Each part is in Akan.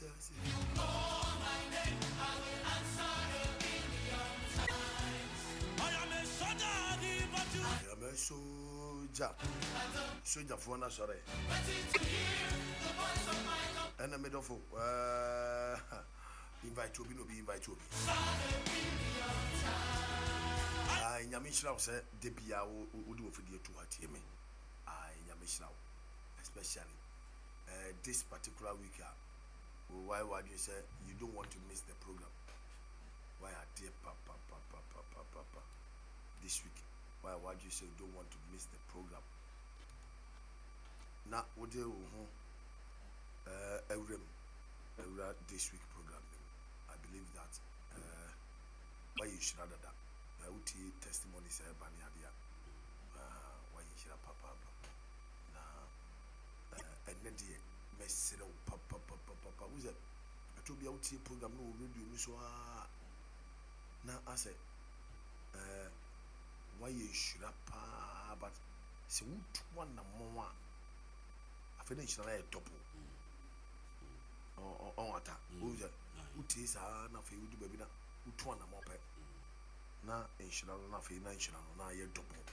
I am a soldier. Sogyafoɔ no asɔre. Ɛna medɔfo invite obi na obi invite obi. Ayi nyame nhyira wo sɛ da biara wode wɔ fidie to ha tie me. Ayi nyame nhyira wo especially uh, this particular week a why wadwene sɛ you don't want to miss the program. Why adeɛ papapapapapapa this week why wadwene sɛ you don't want to miss the program. Na wode wo ho uh, awura mu awura this week program no mu. I believe that uh, wayɛ nhyira dada. Na wotie testimonies a ɛba ne adeɛ a uh, wayɛ nhyira papaapa. Na uh, ɛnnɛ deɛ mɛsrɛ wo papapapapa. Wo sɛ ɛtɔ bia wotie program no wɔ radio no so a na asɛ uh, wayɛ nhyira paa but sɛ wotu anammɔn a afei na nhyira no ayɛ double. Ɔn ata wohu sɛ wotie saa na afei wodu baabi na wotu anammɔn pɛ na nhyira no na afei na nhyira no na ayɛ double.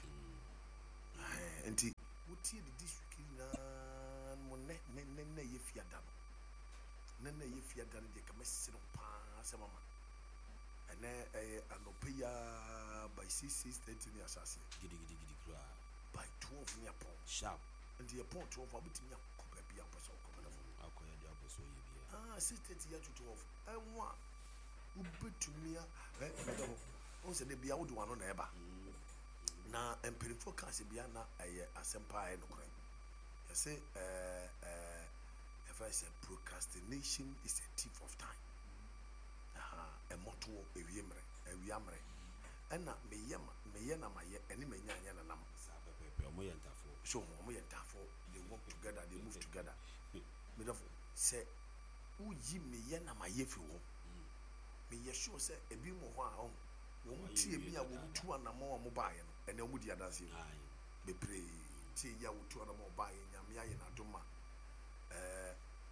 Ɛhɛn, nti wotie de this week nyinaa no mu nnɛ nnɛ nnɛ nnɛ yɛ fiada no nnɛ nnɛ yɛ fiada no deɛ ka mɛsrɛ wo paa sɛ mama ɛnɛ ɛyɛ anɔpa yi ara by 6, 6:30 ne ahyɛ aseɛ. Gidigidigidi koraa. By 12 ne apɔn. Sharp. Nti yɛpɔn 12 a wobɛtumi akɔ baabi a wopɛ sɛ wokɔ mɛdɔfo. Akɔyɛ deɛ wopɛ sɛ ɔyɛ biara. Ah, 6:30 yɛ to 12 ɛho a wobɛtumi a ɛ mɛdɔfo wohu sɛ da bia wode w'ano na ɛba na mpanimfoɔ ka asɛm bia na ɛyɛ asɛm paa ɛyɛ nokorɛ. Yɛse ɛɛ ɛɛ yɛfrɛ sɛ procrastination is a thief of time. Aha, ɛmmɔtoɔ ewie mmerɛ awia mmerɛ ɛna meyɛ ma meyɛ na mayɛ ɛne manya anyɛ nanam. Saa pɛpɛɛpɛ, ɔmo yɛ ntafoɔ. So ɔmo yɛ ntafoɔ, they work together, they move together. Medɔfo sɛ woyi meyɛ na mayɛ firi hɔ, meyɛ sure sɛ ebi mu hɔ a ɔho wɔn tie mi a wɔn tu anammɔn a wɔn baayɛ no ɛnɛ wɔn di adanseɛ bebree. Tie yi a wɔtu anammɔn baayɛ, Nyame ayɛ n'adom a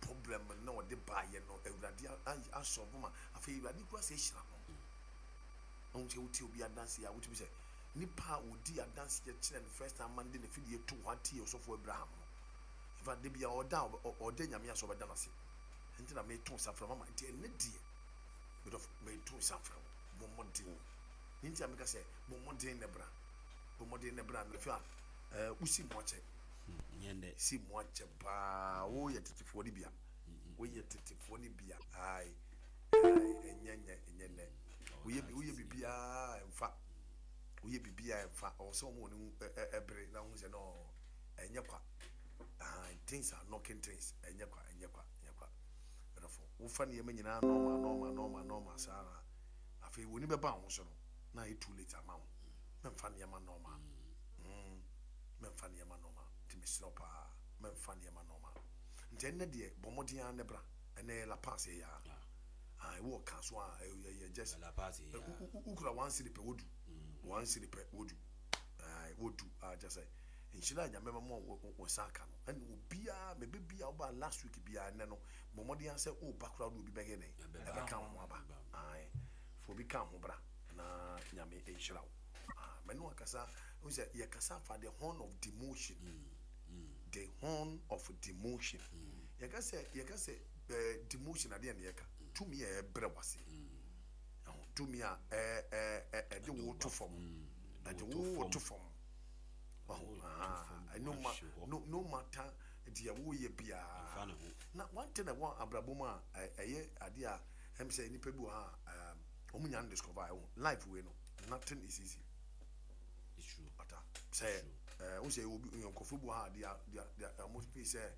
problem na ɔde baayɛ no Awurade asɔbo ma afei Awurade kura sɛ ehyira no. Ɔho sɛ wotie obi adanseɛ a wotumi sɛ nipa a odi adanseɛ kyerɛ no first time man de ne fidie to hɔ atie ɔsɔfo Abraham no. In fact, de bia ɔda ɔda Nyame ase, ɔbɛda n'ase. Nti na meto nsa frɛ mama. Nti ɛnɛ deɛ medɔfo meto nsa frɛ wo, bɔ mmɔden. Ne nti a meka sɛ bɔ mmɔden ne bra, bɔ mmɔden ne bra na afei a wosi mu akyɛ. Nyɛ ndɛ. Si mu akyɛ paa. Woyɛ tetefoɔ no bia, woyɛ tetefoɔ no bia. Ae ae, ɛnyɛ nyɛ ɛnyɛ nnɛ. Woyɛ biribiara ɛmfa, woyɛ biribiara ɛmfa. Ɔwɔ sɛ wɔn wɔn ɛbere na ho sɛ no ɛnyɛ kwa. Ah, things are knocking things. Ɛnyɛ kwa, ɛnyɛ kwa, ɛnyɛ kwa. Ɛdɔfo wofa nneɛma nyinaa normal normal normal normal saa na afei wɔn ni bɛba ho so no na ayɛ too late ama wo. Mɛmfa nneɛma normal, mɛmfa nneɛma normal. Nti mesrɛ wo paa, mɛmfa nneɛma normal. Nti ɛnnɛ deɛ bɔ mmɔden ara ne bra. Ɛnnɛ yɛ La Paz yɛ yaa. Ah, ɛwɔ ka so a ɛyɛ just La Paz yɛ yaa. Wokura 1 cedi pɛ wodu, 1 cedi pɛ wodu. Ah, wodu. Ah, kyɛ sɛ nhyira a Nyame ma mo wɔ nsa aka no ɛna obiara mebe bia woba last week biara ɛnnɛ no bɔ mmɔden ara sɛ woba koraa wode obi bɛyɛ dɛn ɛbɛka wo ho aba. Ae, fa obi ka ho bra na Nyame nhyira wo. Ah, mɛne wakasa wo sɛ yɛkasa fa the horn of demotion, the horn of demotion. Yɛka sɛ demotion adeɛ ne yɛka tumi a ɛbrɛ wase ɛho tumi a ɛde wo to fam, ɛde wo to fam. Ɔho no ma no no matter deɛ woyɛ biara. Na one thing ɛwɔ abrabɔ mu a ɛyɛ adeɛ a ɛm sɛ nipa bi wɔ ha a wɔn nya no discover ɛwɔ life wei no, nothing is easy. It's true. Ata sɛ n sɛ obi nkurɔfoɔ bi wɔ ha deɛ wɔn fi sɛ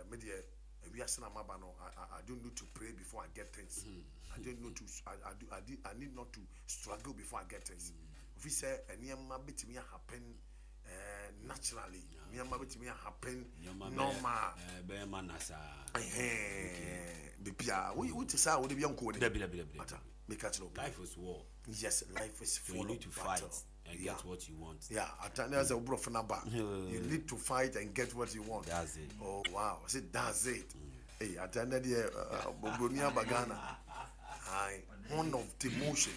me deɛ ewiase na maba no, I don't need to pray before I get things. I don't need to I I do I, do, I need not to struggle before I get things. Ofi sɛ nneɛma betumi happen naturally, nneɛma betumi happen normal. Bɛyɛ ma na saa. Bibia wo te saa wo de bi nko ne. Dabi, dabi, dabi. Ata meka kyerɛ wo. Life is war. Yes, life is So full you need to of fight battle. and get what you want. Yeah, ata ne sɛ woborɔfo no ba, you need to fight and get what you want. That's it. Oh wow, I said that's it. Ei, ata nnɛ deɛ broni aba Ghana. Aye, horn of demotion.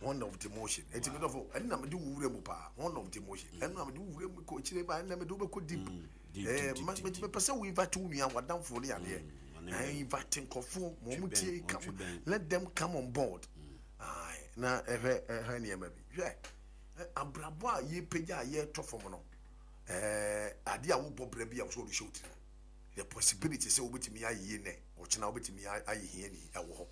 Horn of demotion. Eti me dɔfo, ɛno na mede wo wura mu paa. Horn of demotion. Ɛno na mede wo wura mu kɔ akyire ba, ɛno na mede wo bɛkɔ deep. Eh, mepɛ sɛ wo invite wo nua, w'adamfo ne adeɛ. Eh, invite nkurɔfoɔ, ma wɔn tie, come, let them come on board. Aye, na ɛhwɛ ɛhwɛ nneɛma bi. Hwɛ, abrabɔ a yɛpagya a yɛtɔ fam no, eh, adeɛ a wobɔ brɛ bi a wɔsɛ wɔde hyɛ wo tirim. The possibility sɛ wobɛtumi ayɛ yie nnɛ, ɔkyena wobɛtumi ayɛ hiani ɛwɔ hɔ.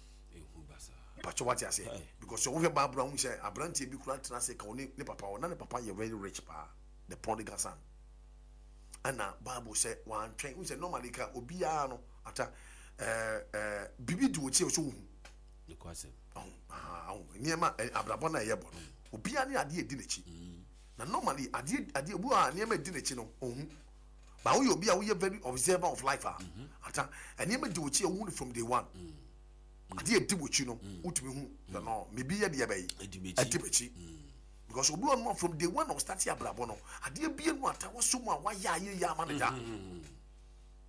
Mpakyɛ wate aseɛ? Because sɛ wohwɛ Bible a wohu sɛ aberanteɛ bi koraa tena ase ka ɔne ne papa hɔ, na ne papa yɛ very rich paa, the prodigal son. Ɛna Bible sɛ wantwɛn, wohu sɛ normally ka obiara no ata ɛɛ ɛɛ biribi di wɔkyi a ɔsɛ wohu. Nneɛma abrabɔ no a ɛyɛ bɔ no, obiara ne adeɛ edi n'akyi. Na normally adeɛ adeɛ obi wɔ a nneɛma edi n'akyi no ɔnhu. But woyɛ obi a woyɛ very observer of life a, ata nneɛma di w'akyi a wohu no from day one. Adeɛ edi w'akyi no wotumi hu sɛ no biribi yɛ deɛ bɛyi ɛdi m'akyi. Because obi wɔ no from day one a ɔstarte abrabɔ no adeɛ bie no ata waso mu a wayɛ ayɛ yie ama no da.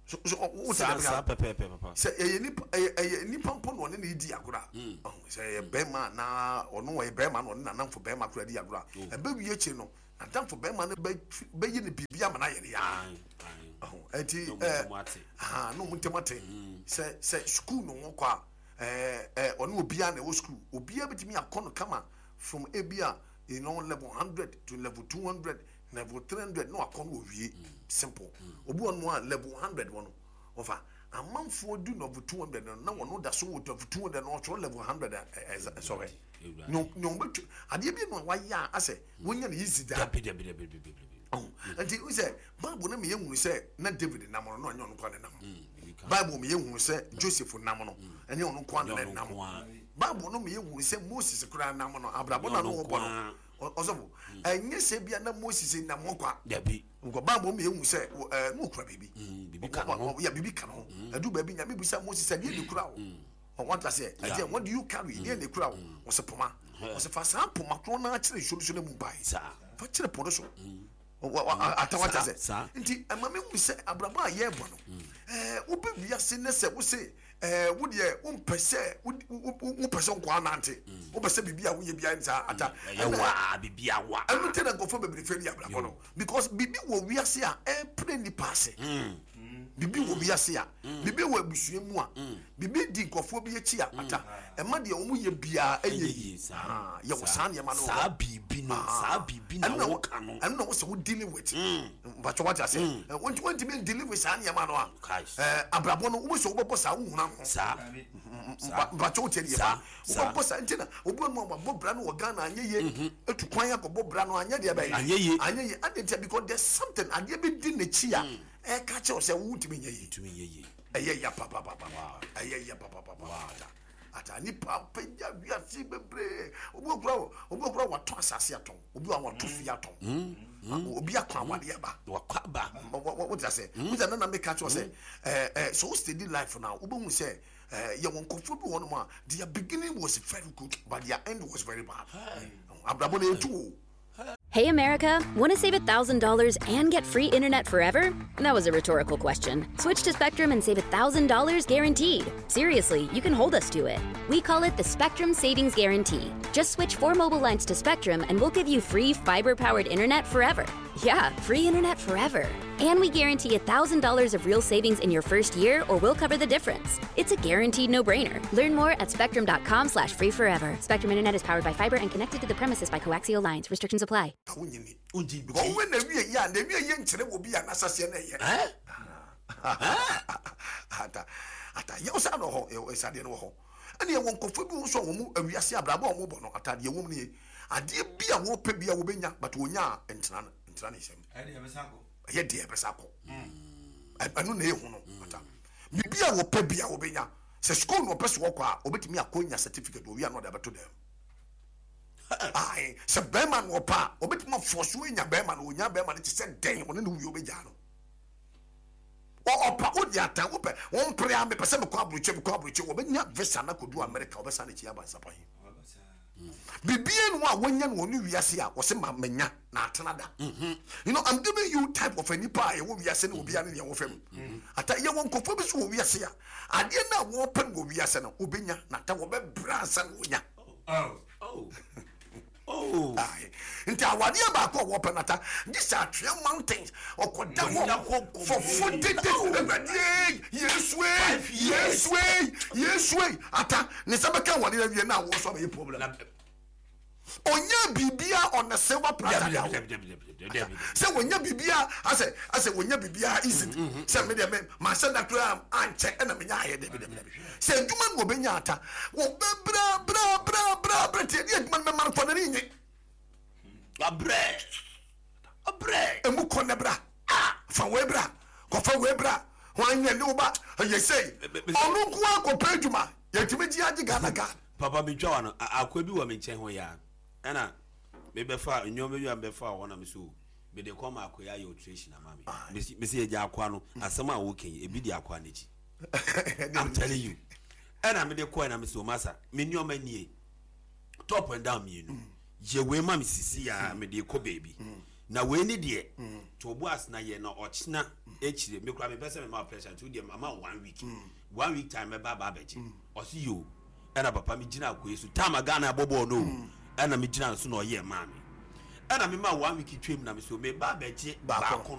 So so wo sɛ saa pɛpɛɛpɛ papa. Sɛ ɛyɛ nipa ɛyɛ ɛyɛ nipa mpo na ɔne ne di agorɔ a sɛ ɛyɛ bɛrima na ɔno ɔyɛ bɛrima na ɔne n'anamfo bɛrima koraa di agorɔ a ɛbɛ wie akyire no N'adamfo bɛrima no bɛyɛ no biribi ama no ayɛ no yaa. Ɛnti ɛɛ na wɔn ntam ate. Sɛ sɛ sukuu na wɔkɔ a ɛɛ ɛɛ ɔne obiara na ɛwɔ sukuu. Obiara bɛtumi akɔ no kama from ebi a you know level 100 to level 200 level 300 na wakɔ no wɔwie simple. Obi wɔ no a level 100 wɔ no wɔfa amanfoɔ du level 200 no na wɔn da so wɔ level 200 na ɔtwerɛ level 100 a ɛsɔhwɛ. Nea wɔbɛtwa adeɛ bi na wayɛ a asɛ wonya no easy da. Dabi dabi dabi dabi dabi. Ɔho nti n sɛ Bible no ma yɛhunu sɛ na David nam no na ɔnyɛ ɔno nkoa na nam. Bible ma yɛhunu sɛ Joseph nam no ɛnyɛ ɔno nkoa na nam. Bible no ma yɛhunu sɛ Moses koraa nam no abrabɔ na no ɔbɔ no ɔsɔfo ɛnyɛ sɛ bia na Moses nam hɔ kwa. Dabi. Nkɔ Bible ma yɛhunu sɛ ɛɛ na okura biribi. Biribi ka no ho. Ya biribi ka no ho. Ɛdu baabi Nyame bisa Moses sɛ deɛ na ekura wo. Wate aseɛ? Ɛdeɛ, what do you carry? Deɛ na ekura wo? Ɔsɛ poma. Ɔsɛ fa saa poma korɔ no ara kyerɛ nsuo no so na mu mpae. Fa kyerɛ po no so. Ata wate aseɛ? Nti ɛma me hu sɛ abrabɔ a yɛrebɔ no, ɛɛ wobɛ wiase ne sɛ wose ɛɛ wo deɛ wompɛ sɛ wopɛ sɛ nkoa nante, wopɛ sɛ biribi a woyɛ biara nsaa ata. Ɛyɛ waa, biribi awa. Ɛno nti na nkurɔfoɔ bebree fɛ di abrabɔ no because biribi wɔ wiase a ɛpere nipa ase. Biribi wɔ wiase a, biribi wɔ abusua mu a, biribi di nkurɔfoɔ bi akyi a, ata ɛma deɛ wɔn yɛ biara ɛnyɛ yie. Yɛwɔ saa nneɛma no wɔ hɔ. Saa biribi no, saa biribi na woka no. Ɛno na wosɛ wo dealing with. Mpakyɛ wate ase. Wontumi dealing with saa nneɛma no a, abrabɔ no wobɛsɛ wobɛbɔ saa wohuna ho. Saa. Mpakyɛ wotie deɛ ba. Wobɛbɔ saa nti na obi wɔ no a wabɔ bra no wɔ Ghana anyɛ yie. Etu kwan akɔbɔ bra no anyɛ deɛ bɛyɛ. Anyɛ yie. Anyɛ yie. Adɛn ntia because there's something adeɛ bi di n'akyi a. Ɛka kyerɛ wo sɛ wontumi nyɛ yie. Ntumi nyɛ yie. Ɛyɛ ya papapapa. Ɛyɛ ya papapapa. Ata ata nipa apagya wiase bebree. Obi okura obi okura watɔ asase atɔn. Obi wa watɔ fie atɔn. Obi akɔ awade aba. Wakɔ aba. Wote ase. Wote nana meka kyerɛ sɛ ɛɛ ɛɛ so wo steady life na wobɛhu sɛ ɛɛ yɛwɔ nkurɔfoɔ bi wɔ hɔnom a their beginning was very good but their end was very bad. Abrabɔ no ɛtu o. Hey America, want to save $1,000 and get free internet forever? That was a rhetorical question. Switch to Spectrum and save $1,000 guaranteed. Seriously, you can hold us to it. We call it the Spectrum Savings Guarantee. Just switch 4 mobile lines to Spectrum and we'll give you free fiber powered internet forever. Yeah, free internet forever. And we guarantee $1,000 of real savings in your first year or we'll cover the difference. It's a guaranteed no-brainer. Learn more at spectrum.com slash free forever. Spectrum Internet is powered by fiber and connected to the premises by coaxial lines. Restrictions apply. Wonyini. Because when na wie yɛ a na wie yɛ nkyerɛ wɔ bi a n'asaseɛ na ɛyɛ. Ata ata yɛ ɔsa na ɔhɔ yɛ ɛsa deɛ no wɔ hɔ. Ɛna yɛ wɔ nkɔfo bi nso a wɔn awiase abrabɔ a wɔn bɔ no ata deɛ wɔm nie. Adeɛ bi a wɔpɛ bi a wɔbɛnya but wɔnya a ntena ntena ne nsam. Ɛyɛ deɛ ɛbɛsa akɔ. Ɛno na ɛyɛ hu no ata. Biribi a wɔpɛ bi a wɔbɛnya. Sɛ sukuu na ɔpɛ sɛ ɔkɔ a ɔbɛtumi akɔ nya certificate ɔwie a na ɔde abɛto dɛm. Ae, sɛ bɛrima na ɔpɛ a, ɔbɛtumi afɔ so anya bɛrima no, ɔnya bɛrima no te sɛ dɛn, ɔne no wie ɔbɛgyaa no. Ɔpa wode ata wopɛ wɔmpere a mepɛ sɛ mekɔ aburokyi mekɔ aburokyi wɔbɛnya visa na kɔdu Amerika wɔbɛsan n'akyi aba nsapan. Biribiara ni hɔ a wɔnya no wɔ ne wiase a wɔsɛ ma manya na atena da. I'm giving you type of a nipa a ɛwɔ wiase ne obiara ne nea wɔfɛ mu. Ata yɛwɔ nkurɔfoɔ bi so wɔ wiase a adeɛ no a wɔpɛ no wɔ wiase no wɔbɛnya na ata wɔbɛbrɛ ansa na wɔnya. Oh. Aye. Nti awadeɛ baako a wɔpɛ no ata gye sɛ atwea mountains ɔkɔda hɔ for 40 days. Awurade Yesu Yesu Yesu ata ne nsa bɛka awadeɛ awie na awoɔ so abɛyɛ problem. Ɔnya biribia on the silver platter da o. Sɛ wɔnya biribia asɛ wɔnya biribia easy sɛ me deɛ me mahyɛ da koraa ankyɛ ɛna menya ayɛ. Dabi dabi dabi, sɛ adwuma no wɔbɛnya ata wɔbɛbrɛ brɛ brɛ brɛ brɛ nti ɛde adwuma no bɛma no kɔ n'ani nye. Wabrɛ wabrɛ. Emu kɔ ne bra fa wei bra kɔfa wei bra wɔn anyɛ ne wo ba ɛyɛ sei ɔno nko akɔpɛ adwuma yɛtumi gye agye Ghana card. Papa, metwa wa no, akoa bi wɔ me nkyɛn hɔ yi a, ɛna mebɛfa nneɛma bi a mebɛfa hɔ na me so mede kɔ ma akoa ayɛ alteration ama me. Mesi yɛgya akoa no asɛm a woka yi ebi di akoa n'akyi. I'm telling you. Ɛna mede kɔɛ na mesi o masa, me nneɛma nie, top and down mmienu, yɛ wei ma me sisi a mede kɔ baabi na wei ne deɛ to bo asena yɛ na ɔkyena akyire me kora mepɛ sɛ mema pressure, nti wodeɛ mama one week, one week time mɛba aba abɛgye. Ɔsi yo. Ɛna papa, me gyina akoe so time a Ghana abɔ bɔɔl no o, ɛna me gyina no so na ɔyɛ maa me, ɛna me ma one week twam na me so meba abɛgye baako no.